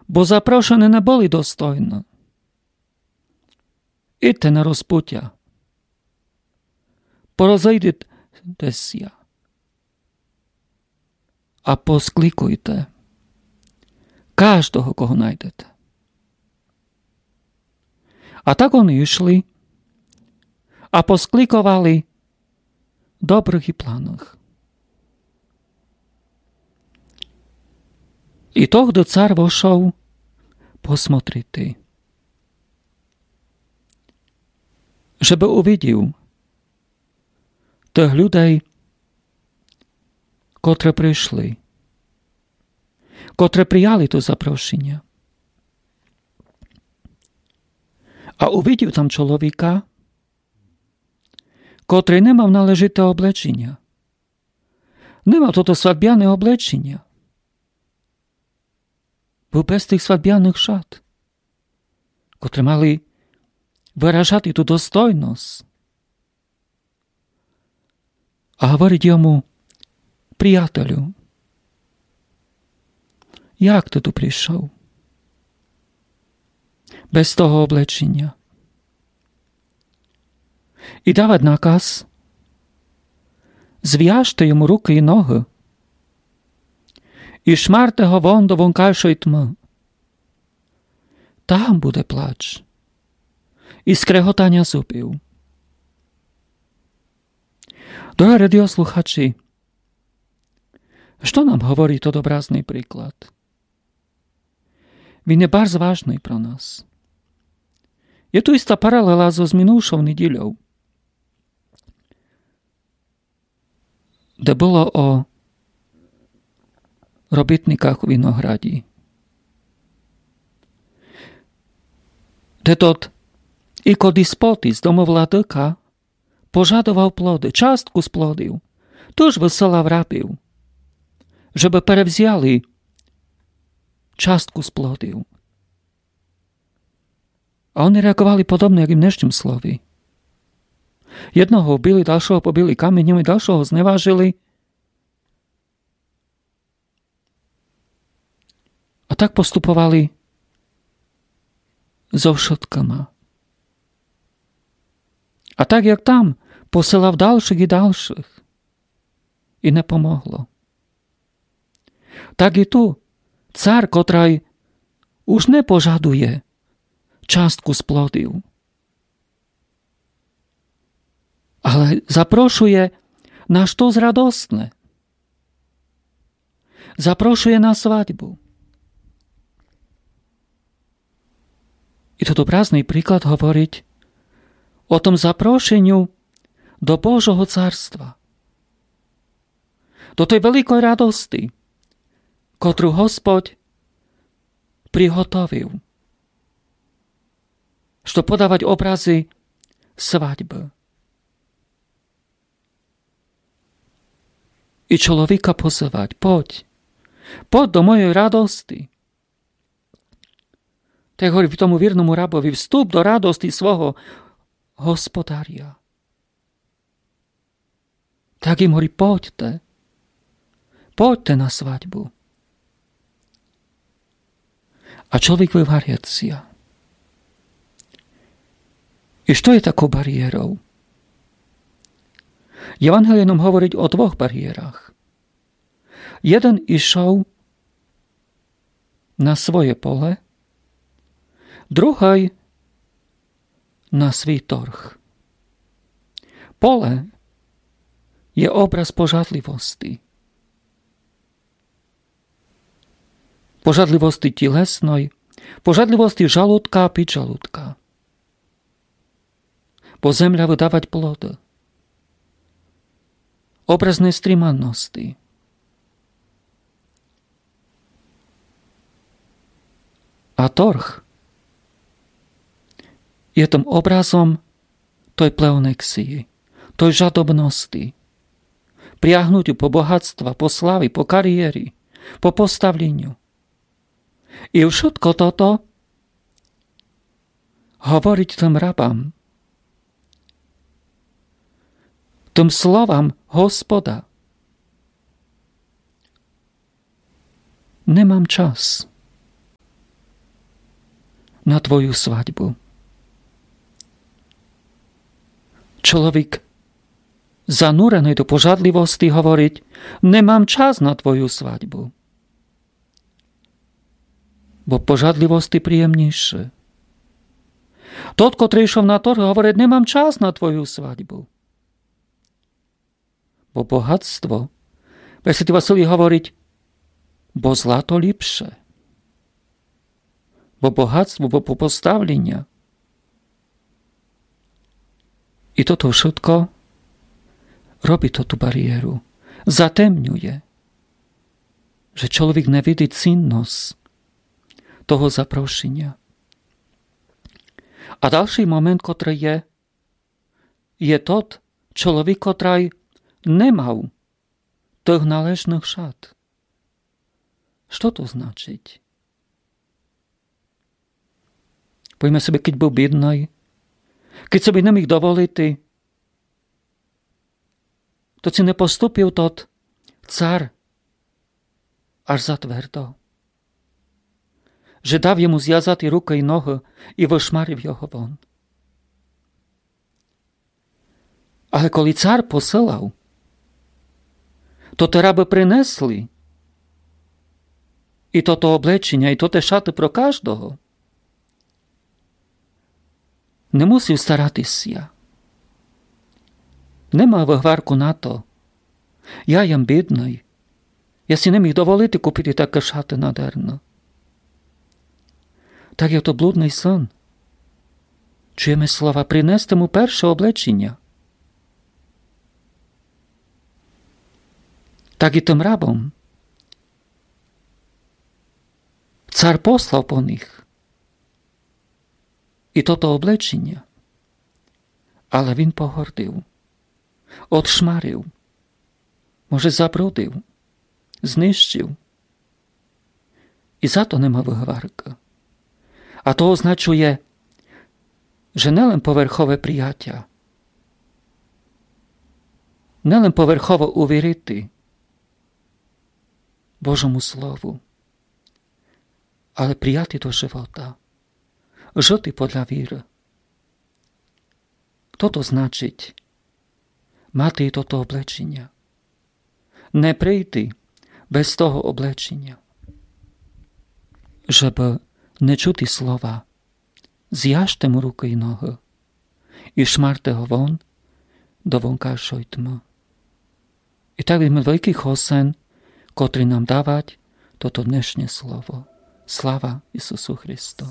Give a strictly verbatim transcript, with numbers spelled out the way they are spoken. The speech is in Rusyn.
бо запрошені не были достойны. Идте на розпутя, порозыйдите ся а поскликуйте каждого, кого найдете. А так они йшли а поскликовали добрых і планных. І тогды цар вошов посмотрити, жебы увидів тых людей, котры пришли, котры прияли то запрошеня. А увидів там чоловіка, котрый не мав належите облеченя. Не мав тото свадбяне облеченя. Быв без тых свадбяных шат, котры мали выражати ту достойность. А говорить йому: «Приятелю, як ты ту пришов без того облеченя?» І давать наказ: «Звяжте йому рукы і ногы і шмарте го вон до вонкайшой тьмы. Там буде плач і скреготаня зубів». Дорогы радіослухачі, што нам говорить тот образный приклад? Він є барз важный про нас. Є ту іста паралела зоз минувшов неділяв, де было о робітниках у винограді, де тот ікодіспотіс, домовладыка, пожадовав плоды, частку з плодів. Тыж высылав рабів, жебы перевзяли частку з плодів. А они реаґовали подобно, як і в днешнім слові. Єдного вбили, дальшого побили каміньом і дальшого зневажили. А так поступовали зо вшыткыма. А так, як там, посылав дальшых і дальшых. І не помогло. Так і ту цар, котрый уж не пожадує частку з плодів, але запрошує на штось радостне. Запрошує на свадьбу. І тот образный приклад говорить о том запрошеню до Божого царства, до той великой радости, котру Господь приготовив, што подавать образы свадьбы. І чоловіка позывать: «Подь, подь до моєй радости». Так говорить тому вірному рабови: «Вступ до радости свого господаря». Так їм говорить: «Подьте, подьте на свадьбу». А чоловік вываряє ся. І што є таков барієров? Євангеліє нам говорить о двох барієрах. Єден ішов на своє поле, другый на свій торг. Поле є образ пожадливости. Пожадливости тілесной, пожадливости жалудка, піджалудка. Бо земля выдавать плоды. Образ нестриманности. А торг є тым образом той плеонексії, той жадобности, прягнутю по богатства, по славі, по карієрі, по поставленю. І вшытко тото говорить тым рабам, тым словам Господа: «Не мам час. на твою свадьбу. Чоловік, зануреный до пожадливости, говорить: «Не мам час на твою свадьбу». Бо пожадливости приємнійше. Тот, котрый йшов на торг, говорить: «Не мам час на твою свадьбу». Бо богатство, пресвятый Василій говорить, бо злато ліпше. Бо богатство, бо поставліня. І тото вшытко робить тоту барієру, затемнює, же чоловік не видить цінность того запрошіня. А дальшый момент, котрый є, є тот чоловік, котрый не мав тых належных шат. Што то значить? Повіме собі, кідь быв бідный, кідь собі не міг доволити, то ци не поступив тот цар аж затвердо, же дав йому звязати рукы і ногы і вышмарив його вон. Але коли цар посылав, то тоты рабы принесли і тото облечіня, і тоты шаты про каждого. Не мусив старати ся. Не мав выгварку на то. Я єм бідный. Я си не міг доволити купити такы шаты надерно. Так як тот блудный сын. Чуєме слова: «Принесте му перше облечіня». Так і тым рабом. Цар послав по них і тото облечіня, але він погордив, одшмарив, може, забрудив, знищив. І за то не мав выгваркы. А то означує, же не лем поверхове приятя, не лем поверхово увірити Божому Слову, але прияти до живота, жыти подля віры. Тото значить мати і тото облечіня. Не прийти без того облечіня. Жебы не чути слова: «Звяжте му рукы і ногы і шмарте го вон до вонкашой тьмы». І так видиме великый хосен, котрый нам давать тото днешнє слово. Слава Ісусу Христу!